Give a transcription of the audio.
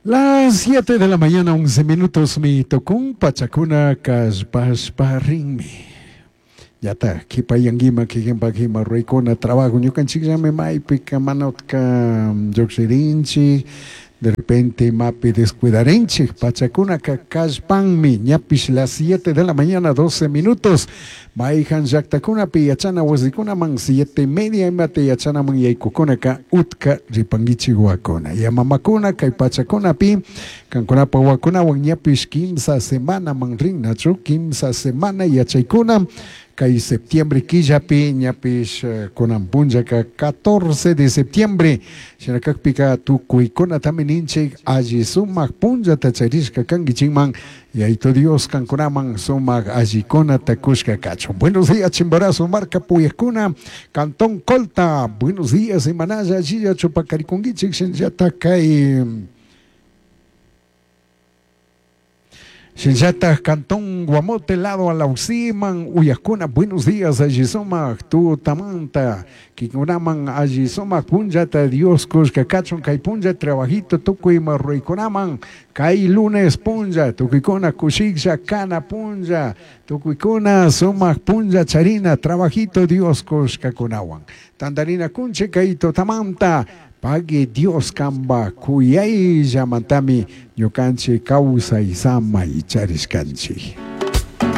Las 7 de la mañana, 11 minutos, mi tucun pachacuna kallpashpa rinmi. Yata kipayanguima kikinpakima ruraykuna trabajo ñukanchikllami maypika mana utka llukshirinchik de repente imapi descuidarinchik pachakunaka kallpanmi ñapish las 7 de la mañana 12 minutos mayjan llaktakunapi yachana wasikunaman 7:30 imata yachanaman yaykukunaka utka ripankichik wawakuna ya mamakuna kay pachakunapi kankunapa wawakunawan ñapish kimsa semanaman rinnachu kimsa semana yachaykuna kay septiembre killapi ñapish kunan punllaka 14 de septiembre shina kakpika tukuykunatami ninchik alli sumak punllata charishka kankichikman Yaito Dios kankunaman sumak allikunata kushka kachun. Buenos días Chimborazo marka puyakuna Cantón Colta. Buenos días imanalla allilla chupakarikunkichik shinallata kay Shinllataj Cantón Guamote lado Alausiman uyakuna buenos días alli sumak tutamanta kikunaman alli sumak punllata Dios kushka kachun kay punlla trabajito tukuy ima ruraykunaman kay lunes punlla tukuykuna kushiklla kana punlla tukuykuna sumak punlla charina trabajito Dios kushkakunawan tantarina kunchik kay tutamanta pagui Dios kamba kuyayllamantami ñukanchik kawsay samay charishkanchik.